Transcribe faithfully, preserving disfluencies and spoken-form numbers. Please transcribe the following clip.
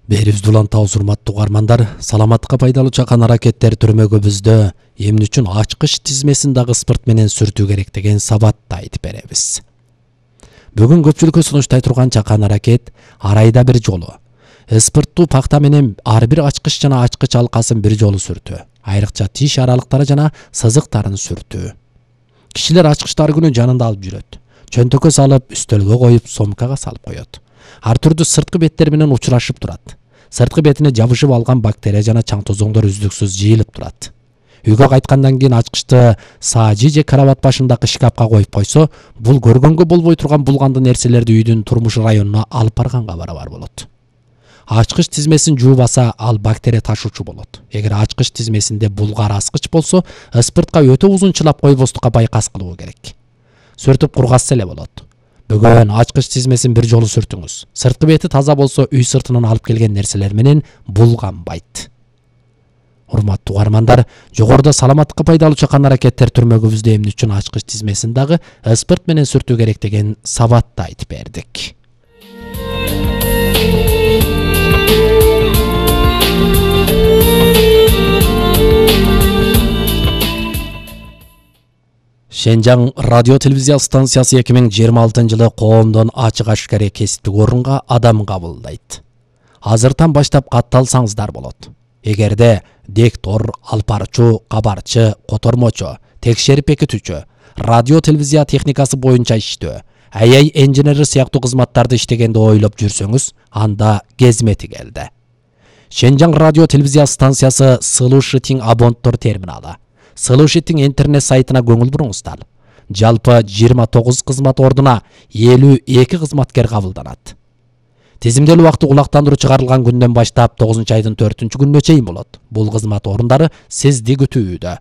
Берибизди улантабыз, урматтуу угармандар. Саламаттыкка пайдалуу чакан аракеттер түрмөгүбүздө эмне үчүн ачкыч тизмесин дагы спирт менен сүртүү керек деген сабатты айтып беребиз. Бүгүн көпчүлүккө сунуштай турган чакан аракет ар айда бир жолу спирттуу пакта менен ар бир ачкыч жана ачкыч алкасын бир жолу сүртүү, айрыкча тиш аралыктары жана сызыктарын сүртүү. Кишилер ачкычты ар күнү жанында алып жүрөт. Чөнтөккө салып, үстөлгө коюп, сомкага салып коет. Ар түрдүү сырткы беттер менен учурашып турат. Сырткы бетине жабышып алган бактерия жана чаң тозоңдор үздүксүз жыйылып турат. Үйгө кайткандан кийин ачкычты саажи же карабат башындагы шкафка коюп койсо, бул көргөнгө болбой турган булгандуу нерселерди үйдүн турмуш районуна алып барганга барабар болот. Ачкыч тизмесин жуубаса, ал бактерия ташуучу болот. Эгер ачкыч тизмесинде булгар аскыч болсо, спиртка өтө узун чылап койбостукка байкас кылуу керек. Сүртүп кургатса эле болот. Бүгүн ачкыч тизмесин бир жолу сүртүңүз. Сырткы бети таза болсо, үй сыртынан алып келген нерселер менен булганбайт. Урматтуу угармандар, жогоруда саламаттыкка пайдалуу чакан аракеттер түрмөгүбүздө эмне үчүн ачкыч тизмесин дагы спирт менен сүртүү керек деген сабатты айтып бердик. Шенжаң радио телевизия станциясы эки миң жыйырма алтынчы жылы коомдон ачык ашкare кесиптик орунга адам кабылдайт. Азыртан баштап катталсаңыздар болот. Эгерде диктор, алпарчу, кабарчы, котормочу, текшерип бекитүүчү, радио телевизия техникасы боюнча иштөө, эй ай инженери сыяктуу кызматтарды иштегенди ойлоп жүрсөңүз, анда кезмети келди. Шенжаң радио телевизия станциясы Слушатиң абонттор терминалы. Слушатиң интернет сайтына көңүл буруңуздар. Жалпы жыйырма тогуз кызмат ордуна элүү эки кызматкер кабылданат. Тизимделүү убакыты улактандыруу чыгарылган күндөн баштап тогузунчу айдын төртүнчү күнүнө чейин болот. Бул кызмат орундары сизди күтүүдө.